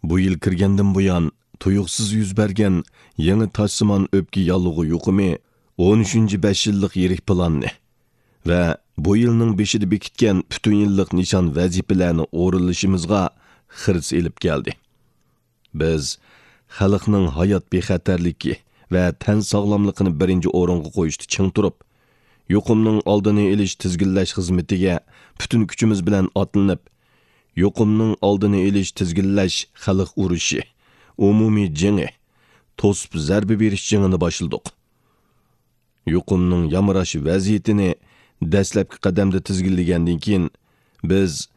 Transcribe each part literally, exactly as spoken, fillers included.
بۇ يىل كىرگەندىن بۇيان، تۇيۇقسىز يۈز بەرگەن يېڭى تاشسىمان ئۆپكە ياللۇغى يۇقۇمى ئون ئۈچىنچى بەش يىللىق يىرىك پىلاننى ۋە بۇ يىلنىڭ بېشىدا بېكىتكەن پۈتۈن يىللىق نىشان ۋەزىپىلەرنى ئورۇنلىشىمىزغا خىرىس ئېلىپ كەلدى. بىز خەلقنىڭ ھايات بىخەتەرلىكى ۋە تەن ساغلاملىقىنى بىرىنچى ئورۇنغا قويۇشتا چىڭ تۇرۇپ، يۇقۇمنىڭ ئالدىنى ئېلىش تىزگىنلەش خىزمىتىگە پۈتۈن كۈچىمىز بىلەن ئاتلىنىپ، يۇقۇمنىڭ ئالدىنى ئېلىش تىزگىنلەش خەلق ئۇرۇشى، ئومۇمىي جېڭى، توسۇپ زەربە بېرىش جېڭىنى باشلىدۇق. يۇقۇمنىڭ يامراش ۋەزىيىتىنى دەسلەپكى قەدەمدە تىزگىنلىگەندىن كېيىن، بىز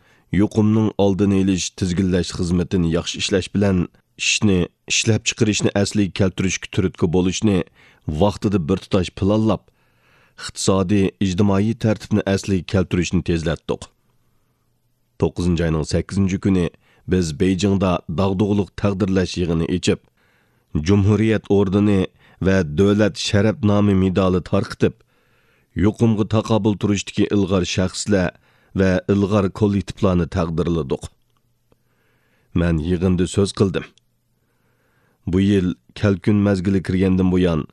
يۇقۇمنىڭ ئالدىنى ئېلىش، تىزگىنلەش خىزمىتىنى ياخشى ئىشلەش بىلەن ئىشنى، ئىشلەپچىقىرىشنى ئەسلىگە كەلتۈرۈشكە تۈرتكە بولۇشنى ۋاقتىدا بىر تۇتاش پىلانلاپ، ئىقتىسادىي، ئىجتىمائىي تەرتىپنى ئەسلىگە كەلتۈرۈشنى تېزلەتتۇق. توققۇزىنچى ئاينىڭ سەككىزىنچى كۈنى بىز بېيجىڭدا داغدۇغىلىق تەقدىرلەش يىغىنى ئېچىپ، جۇمھۇرىيەت ئوردېنى ۋە دۆلەت شەرەپ نامى مېدالى تارقىتىپ، يۇقۇمغا تاقابىل تۇرۇشتىكى ئىلغار شەخسلەر ۋە ئىلغار كوللېكتىپلارنى تەقدىرلىدۇق. مەن يىغىندا سۆز قىلدىم. بۇ يىل كەلكۈن مەزگىلى كىرگەندىن بۇيان،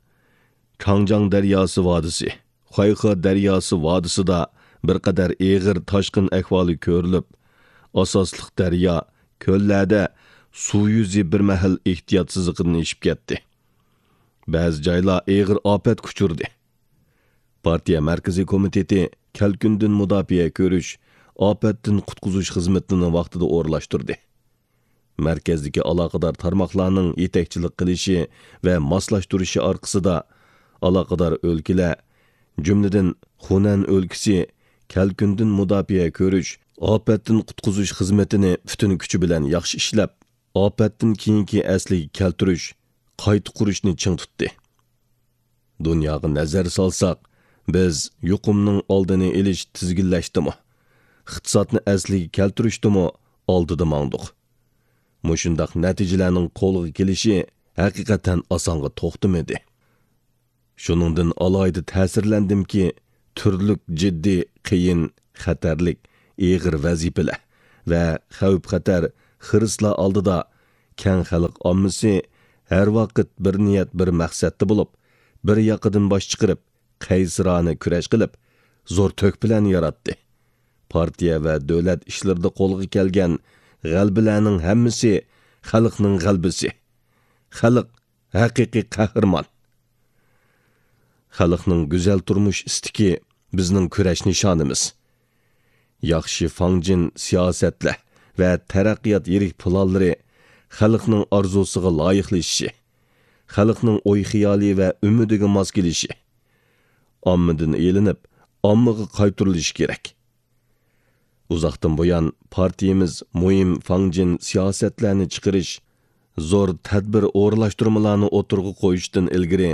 كاڭجاڭ دەرياسى ۋادىسى، خۇەيخې دەرياسى ۋادىسىدا بىر قەدەر ئېغىر تاشقىن ئەھۋالى كۆرۈلۈپ، ئاساسلىق دەريا، كۆللەردە سۇ يۈزى بىر مەھەل ئېھتىيات سىزىقىدىن ئېشىپ كەتتى. بەزى جايلار ئېغىر ئاپەتكە ئۇچرىدى. پارتىيە مەركىزىي كومىتېتى كەلكۈندىن مۇداپىئە كۆرۈش، ئاپەتتىن قۇتقۇزۇش خىزمىتىنى ۋاقتىدا ئورۇنلاشتۇردى. مەركەزدىكى ئالاقىدار تارماقلارنىڭ يېتەكچىلىك قىلىشى ۋە ماسلاشتۇرۇشى ئارقىسىدا، ئالاقىدار ئۆلكىلەر، جۈملىدىن خۇنەن ئۆلكىسى، كەلكۈندىن مۇداپىئە كۆرۈش، ئاپەتتىن قۇتقۇزۇش خىزمىتىنى پۈتۈن كۈچى بىلەن ياخشى ئىشلەپ، ئاپەتتىن كېيىنكى ئەسلىگە كەلتۈرۈش، قايتا قۇرۇشنى چىڭ تۇتتى. دۇنياغا نەزەر سالساق، بىز يۇقۇمنىڭ ئالدىنى ئېلىش، تىزگىنلەشتىمۇ، ئىقتىسادنى ئەسلىگە كەلتۈرۈشتىمۇ ئالدىدا ماڭدۇق. مۇشۇنداق نەتىجىلەرنىڭ قولغا كېلىشى ھەقىقەتەن ئاسانغا توختىمىدى. شۇنىڭدىن ئالاھىدە تەسىرلەندىمكى، تۈرلۈك جىددىي، قىيىن، خەتەرلىك، ئېغىر ۋەزىپىلەر ۋە خەۋپ-خەتەر، خىرىسلار ئالدىدا كەڭ خەلق ئاممىسى ھەر ۋاقىت بىر نىيەت، بىر مەقسەتتە بولۇپ، بىر ياقىدىن باش چىقىرىپ، قەيسىرانە كۈرەش قىلىپ، زور تۆھپىلەرنى ياراتتى. پارتىيە ۋە دۆلەت ئىشلىرىدا قولغا كەلگەن غەلىبىلەرنىڭ ھەممىسى خەلقنىڭ غەلىبىسى. خەلق ھەقىقىي قەھرىمان. خەلقنىڭ گۈزەل تۇرمۇش ئىستىكى بىزنىڭ كۈرەش نىشانىمىز. ياخشى فاڭجېن سىياسەتلەر ۋە تەرەققىيات يىرىك پىلانلىرى خەلقنىڭ ئارزۇسىغا لايىقلىشىشى، خەلقنىڭ ئوي-خىيالى ۋە ئۈمىدىگە ماس كېلىشى، ئاممىدىن ئېلىنىپ، ئاممىغا قايتۇرۇلۇشى كېرەك. ئۇزاقتىن بۇيان پارتىيىمىز مۇھىم فاڭجېن سىياسەتلەرنى چىقىرىش، زور تەدبىر ئورۇنلاشتۇرمىلارنى ئوتتۇرىغا قويۇشتىن ئىلگىرى،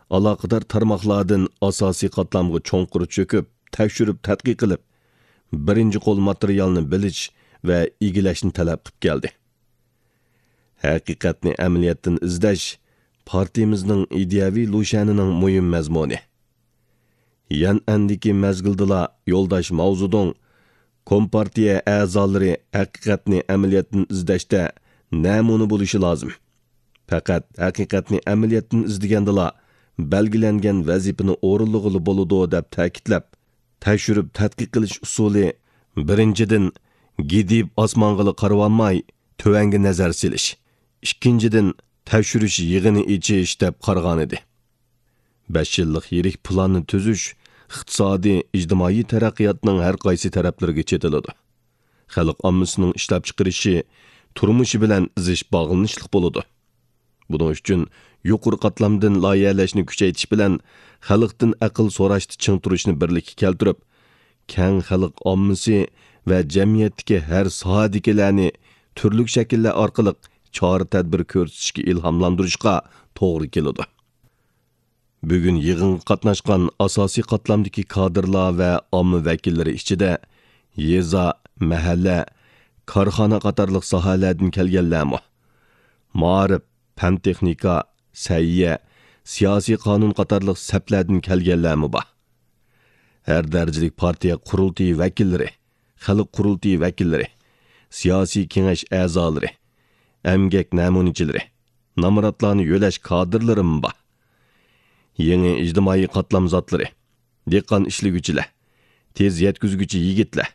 ئالاقىدار تارماقلاردىن ئاساسىي قاتلامغا چوڭقۇر چۆكۈپ، تەكشۈرۈپ تەتقىق قىلىپ، بىرىنچى قول ماتېرىيالنى بىلىش ۋە ئىگىلەشنى تەلەپ قىلىپ كەلدى. ھەقىقەتنى ئەمەلىيەتتىن ئىزدەش پارتىيىمىزنىڭ ئىدىيەۋى لۇشيەنىنىڭ مۇھىم مەزمۇنى. يەنئەندىكى مەزگىلدىلا يولداش ماۋزېدۇڭ، كومپارتىيە ئەزالىرى ھەقىقەتنى ئەمەلىيەتتىن ئىزدەشتە نەمۇنە بولۇشى لازىم. پەقەت ھەقىقەتنى ئەمەلىيەتتىن ئىزدىگەندىلا بەلگىلەنگەن ۋەزىپىنى ئورۇنلىغىلى بولىدۇ، دەپ تەكىتلەپ، تەكشۈرۈپ تەتقىق قىلىش ئۇسۇلى، بىرىنچىدىن، گىدىيىپ ئاسمانغىلا قارىۋالماي، تۆۋەنگە نەزەر سېلىش، ئىككىنچىدىن، تەكشۈرۈش يىغىنى ئېچىش دەپ قارىغانىدى. بەش يىللىق يىرىك پىلاننى تۈزۈش ئىقتىسادىي، ئىجتىمائىي تەرەققىياتنىڭ ھەر قايسى تەرەپلىرىگە چېتىلىدۇ. خەلق ئاممىسىنىڭ ئىشلەپچىقىرىشى، تۇرمۇشى بىلەن زىچ باغلىنىشلىق بولىدۇ. بۇنىڭ ئۈچۈن يۇقىرى قاتلامدىن لايىھەلەشنى كۈچەيتىش بىلەن خەلقتىن ئەقىل سوراشتا چىڭ تۇرۇشنى بىرلىككە كەلتۈرۈپ، كەڭ خەلق ئاممىسى ۋە جەمئىيەتتىكى ھەر ساھەدىكىلەرنى تۈرلۈك شەكىللەر ئارقىلىق چارە-تەدبىر كۆرسىتىشكە ئىلھاملاندۇرۇشقا توغرا كېلىدۇ. بۈگۈن يىغىنغا قاتناشقان ئاساسىي قاتلامدىكى كادىرلار ۋە ئامما ۋەكىللىرى ئىچىدە يېزا، مەھەللە، كارخانا قاتارلىق ساھەلەردىن كەلگەنلەرمۇ، مائارىپ، پەن-تېخنىكا، سەھىيە، سىياسىي قانۇن قاتارلىق سەپلەردىن كەلگەنلەرمۇ بار. ھەر دەرىجىلىك پارتىيە قۇرۇلتىيى ۋەكىللىرى، خەلق قۇرۇلتىيى ۋەكىللىرى، سىياسىي كېڭەش ئەزالىرى، ئەمگەك نەمۇنىچىلىرى، نامراتلارنى يۆلەش كادىرلىرىمۇ بار. يېڭى ئىجتىمائىي قاتلام زاتلىرى، دېھقان ئىشلىگۈچىلەر، تېز يەتكۈزگۈچى يىگىتلەر،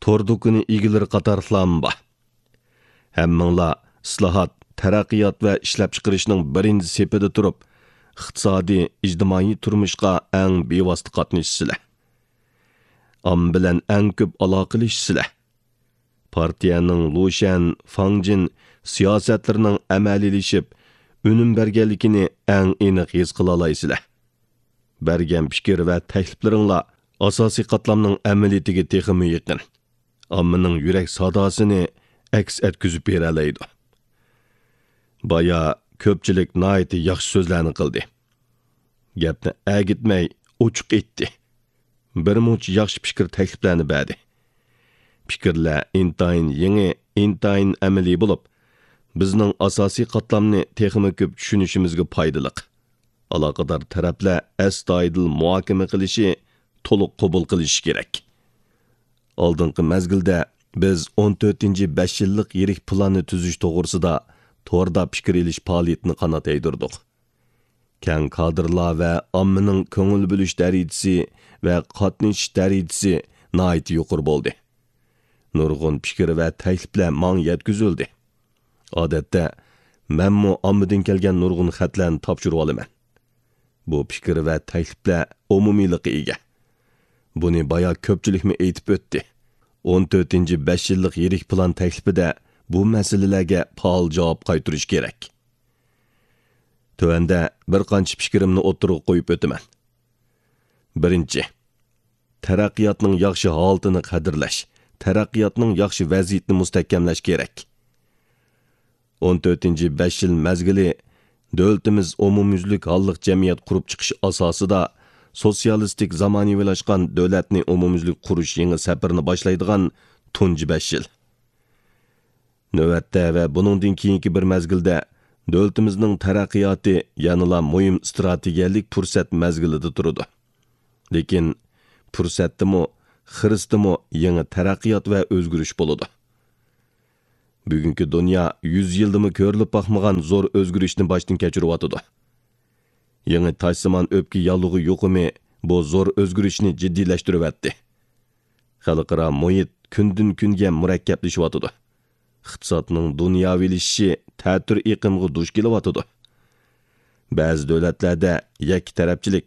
تور دۇكىنى ئىگىلىرى قاتارلىقلارمۇ بار. ھەممىڭلار ئىسلاھات، تەرەققىيات ۋە ئىشلەپچىقىرىشنىڭ بىرىنچى سېپىدە تۇرۇپ، ئىقتىسادىي، ئىجتىمائىي تۇرمۇشقا ئەڭ بىۋاسىتە قاتنىشىسىلەر. ئامما بىلەن ئەڭ كۆپ ئالاقىلىشىسىلەر. پارتىيەنىڭ لۇشەن، فاڭجىن سىياسەتلىرىنىڭ ئەمەلىيلىشىپ، ئۈنۈم بەرگەنلىكىنى ئەڭ ئېنىق ھېس قىلالايسىلەر. بەرگەن پىكىر ۋە تەكلىپلىرىڭلار ئاساسىي قاتلامنىڭ ئەمەلىيىتىگە تېخىمۇ يېقىن، ئاممىنىڭ يۈرەك ساداسىنى ئەكس ئەتكۈزۈپ بېرەلەيدۇ. بايا كۆپچىلىك ناھايىتى ياخشى سۆزلەرنى قىلدى. گەپنى ئەگىتمەي ئوچۇق ئېيتتى. بىر مۇنچە ياخشى پىكىر تەكلىپلەرنى بەردى. پىكىرلەر ئىنتايىن يېڭى، ئىنتايىن ئەمەلىي بولۇپ، بىزنىڭ ئاساسىي قاتلامنى تېخىمۇ كۆپ چۈشىنىشىمىزگە پايدىلىق. ئالاقىدار تەرەپلەر ئەستايىدىل مۇھاكىمە قىلىشى، تولۇق قوبۇل قىلىشى كېرەك. ئالدىنقى مەزگىلدە بىز ئون تۆتىنچى بەش يىللىق يىرىك پىلاننى تۈزۈش توغرىسىدا توردا پىكىر ئېلىش پائالىيىتىنى قانات يايدۇردۇق. كەڭ كادىرلار ۋە ئاممىنىڭ كۆڭۈل بۆلۈش دەرىجىسى ۋە قاتنىشىش دەرىجىسى ناھايىتى يۇقىرى بولدى. نۇرغۇن پىكىر ۋە تەكلىپلەر ماڭا يەتكۈزۈلدى. ئادەتتە، مەنمۇ ئاممىدىن كەلگەن نۇرغۇن خەتلەرنى تاپشۇرۇۋالىمەن. بۇ پىكىر ۋە تەكلىپلەر ئومۇمىيلىققا ئىگە. بۇنى بايا كۆپچىلىكمۇ ئېيتىپ ئۆتتى. ئون تۆتىنچى بەش يىللىق يىرىك پىلان تەكلىپىدە بۇ مەسىلىلەرگە پائال جاۋاب قايتۇرۇش كېرەك. تۆۋەندە بىر قانچە پىكرىمنى ئوتتۇرىغا قويۇپ ئۆتىمەن. بىرىنچى، تەرەققىياتنىڭ ياخشى ھالىتىنى قەدىرلەش، تەرەققىياتنىڭ ياخشى ۋەزىيىتىنى مۇستەھكەملەش كېرەك. ئون تۆتىنچى بەش يىل مەزگىلى دۆلىتىمىز ئومۇميۈزلۈك ھاللىق جەمئىيەت قۇرۇپ چىقىش ئاساسىدا سوتسىيالىستىك زامانىۋىلاشقان دۆلەتنى ئومۇميۈزلۈك قۇرۇش يېڭى سەپىرىنى باشلايدىغان تۇنجى بەش يىل. نۆۋەتتە ۋە بۇنىڭدىن كېيىنكى بىر مەزگىلدە دۆلىتىمىزنىڭ تەرەققىياتى يەنىلا مۇھىم ئىستراتېگىيەلىك پۇرسەت مەزگىلىدە تۇرىدۇ. لېكىن پۇرسەتتىمۇ، خىرىستىمۇ يېڭى تەرەققىيات ۋە ئۆزگىرىش بولىدۇ. بۈگۈنكى دۇنيا يۈز يىلدىمۇ كۆرۈلۈپ باقمىغان زور ئۆزگىرىشنى باشتىن كەچۈرۈۋاتىدۇ. يېڭى تاجسىمان ئۆپكە ياللۇغى يۇقۇمى بۇ زور ئۆزگىرىشنى جىددىيلەشتۈرۈۋەتتى. خەلقئارا مۇھىت كۈندىن-كۈنگە مۇرەككەپلىشىۋاتىدۇ. ئىقتىسادنىڭ دۇنياۋىلىشىشى تەتۈر ئېقىمغا دۇچ كېلىۋاتىدۇ. بەزى دۆلەتلەردە يەككە تەرەپچىلىك،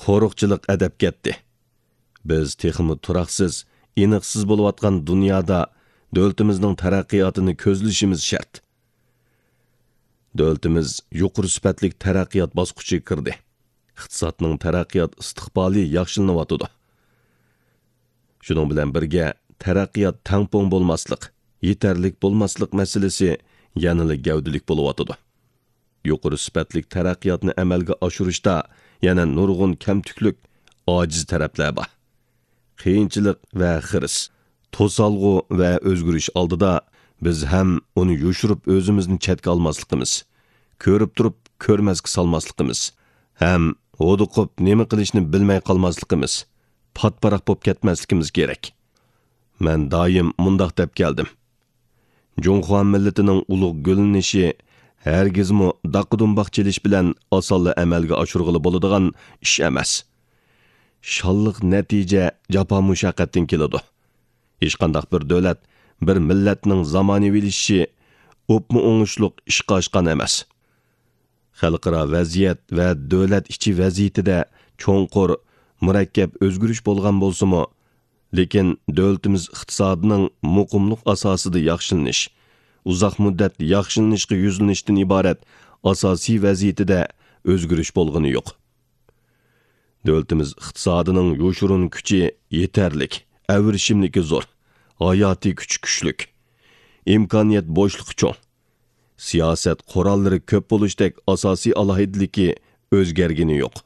قورۇقچىلىق ئەدەپ كەتتى. بىز تېخىمۇ تۇراقسىز، ئېنىقسىز بولۇۋاتقان دۇنيادا دۆلىتىمىزنىڭ تەرەققىياتىنى كۆزلىشىمىز شەرت. دۆلىتىمىز يۇقىرى سۈپەتلىك تەرەققىيات باسقۇچىغا كىردى. ئىقتىسادنىڭ تەرەققىيات ئىستىقبالى ياخشىلىنىۋاتىدۇ. شۇنىڭ بىلەن بىرگە، تەرەققىيات تەڭپۇڭ بولماسلىق، يېتەرلىك بولماسلىق مەسىلىسى يەنىلا گەۋدىلىك بولۇۋاتىدۇ. يۇقىرى سۈپەتلىك تەرەققىياتنى ئەمەلگە ئاشۇرۇشتا يەنە نۇرغۇن كەمتۈكلۈك، ئاجىز تەرەپلەر بار. قىيىنچىلىق ۋە خىرىس، توسالغۇ ۋە ئۆزگىرىش ئالدىدا بىز ھەم ئۇنى يوشۇرۇپ ئۆزىمىزنى چەتكە ئالماسلىقىمىز، كۆرۈپ تۇرۇپ كۆرمەسكە سالماسلىقىمىز، ھەم ھودۇقۇپ نېمە قىلىشنى بىلمەي قالماسلىقىمىز، پاتىپاراق بولۇپ كەتمەسلىكىمىز كېرەك. مەن دائىم مۇنداق دەپ كەلدىم. جۇڭخۇا مىللىتىنىڭ ئۇلۇغ گۈللىنىشى ھەرگىزمۇ داققا-دۇمباق چېلىش بىلەن ئاسانلا ئەمەلگە ئاشۇرغىلى بولىدىغان ئىش ئەمەس. شانلىق نەتىجە جاپا-مۇشەققەتتىن كېلىدۇ. ھېچقانداق بىر دۆلەت، بىر مىللەتنىڭ زامانىۋىلىشىشى ئوپمۇ ئوڭۇشلۇق ئىشقا ئاشقان ئەمەس. خەلقئارا ۋەزىيەت ۋە دۆلەت ئىچى ۋەزىيىتىدە چوڭقۇر، مۇرەككەپ ئۆزگىرىش بولغان بولسىمۇ، لېكىن دۆلىتىمىز ئىقتىسادىنىڭ مۇقىملىق ئاساسىدا ياخشىلىنىش، ئۇزاق مۇددەت ياخشىلىنىشقا يۈزلىنىشتىن ئىبارەت ئاساسىي ۋەزىيىتىدە ئۆزگىرىش بولغىنى يوق. دۆلىتىمىز ئىقتىسادىنىڭ يوشۇرۇن كۈچى يېتەرلىك، ئەۋرىشىملىكى زور، ھاياتىي كۈچى كۈچلۈك، ئىمكانىيەت بوشلۇقى چوڭ. سىياسەت قوراللىرى كۆپ بولۇشتەك ئاساسىي ئالاھىدىلىكى ئۆزگەرگىنى يوق.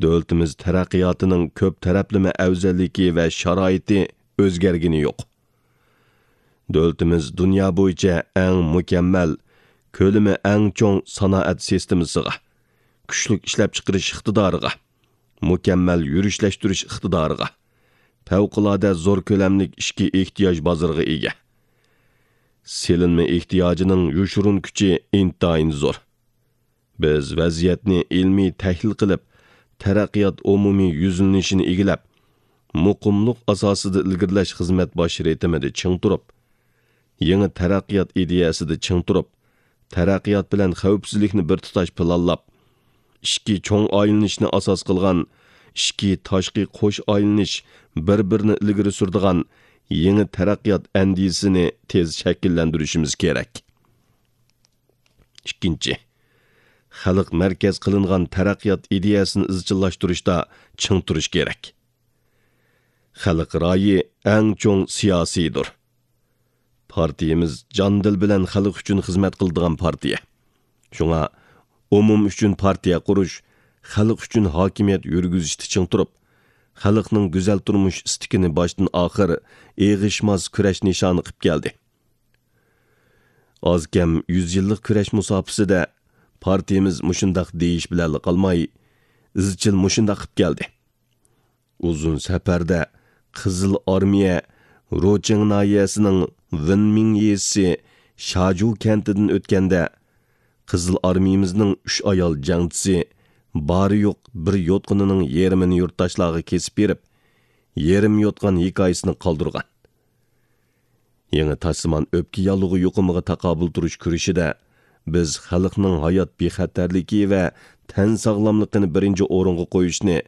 دۆلىتىمىز تەرەققىياتىنىڭ كۆپ تەرەپلىمە ئەۋزەللىكى ۋە شارائىتى ئۆزگەرگىنى يوق. دۆلىتىمىز دۇنيا بويىچە ئەڭ مۇكەممەل، كۆلىمى ئەڭ چوڭ سانائەت سىستېمىسىغا، كۈچلۈك ئىشلەپچىقىرىش ئىقتىدارىغا، مۇكەممەل يۈرۈشلەشتۈرۈش ئىقتىدارىغا، پەۋقۇلئاددە زور كۆلەملىك ئىچكى ئېھتىياج بازىرىغا ئىگە. سېلىنما ئېھتىياجىنىڭ يوشۇرۇن كۈچى ئىنتايىن زور. بىز ۋەزىيەتنى ئىلمىي تەھلىل قىلىپ، تەرەققىيات ئومۇمىي يۈزلىنىشىنى ئىگىلەپ، مۇقىملىق ئاساسىدا ئىلگىرىلەش خىزمەت باش رىتىمىدا چىڭ تۇرۇپ، يېڭى تەرەققىيات ئىدىيەسىدە چىڭ تۇرۇپ، تەرەققىيات بىلەن خەۋپسىزلىكنى بىر تۇتاش پىلانلاپ، ئىچكى چوڭ ئايلىنىشنى ئاساس قىلغان ئىچكى تاشقى قوش ئايلىنىش بىر-بىرىنى ئىلگىرى سۈرىدىغان يېڭى تەرەققىيات ئەندىزىسىنى تېز شەكىللەندۈرۈشىمىز كېرەك. ئىككىنچى، خەلق مەركەز قىلىنغان تەرەققىيات ئىدىيەسىنى ئىزچىللاشتۇرۇشتا چىڭ تۇرۇش كېرەك. خەلق رايى ئەڭ چوڭ سىياسىيدۇر. پارتىيىمىز جان-دىل بىلەن خەلق ئۈچۈن خىزمەت قىلىدىغان پارتىيە. شۇڭا ئومۇم ئۈچۈن پارتىيە قۇرۇش، خەلق ئۈچۈن ھاكىمىيەت يۈرگۈزۈشتە چىڭ تۇرۇپ، خەلقنىڭ گۈزەل تۇرمۇش ئىستىكىنى باشتىن ئاخىر ئېغىشماس كۈرەش نىشانى قىلىپ كەلدى. ئاز-كەم يۈز يىللىق كۈرەش مۇساپىسىدە پارتىيىمىز مۇشۇنداق دېيىش بىلەنلا قالماي، ئىزچىل مۇشۇنداق قىلىپ كەلدى. ئۇزۇن سەپەردە قىزىل ئارمىيە روچىڭ ناھىيەسىنىڭ ۋېنمىڭ يېزىسى شاجۇ كەنتىدىن ئۆتكەندە، قىزىل ئارمىيىمىزنىڭ ئۈچ ئايال جەڭچىسى بارى يوق بىر يوتقىنىنىڭ يېرىمىنى يۇرتداشلارغا كېسىپ بېرىپ، يېرىم يوتقان ھېكايىسىنى قالدۇرغان. يېڭى تاشسىمان ئۆپكە ياللۇغى يۇقۇمىغا تاقابىل تۇرۇش كۈرىشىدە بىز خەلقنىڭ ھايات بىخەتەرلىكى ۋە تەن ساغلاملىقىنى بىرىنچى ئورۇنغا قويۇشنى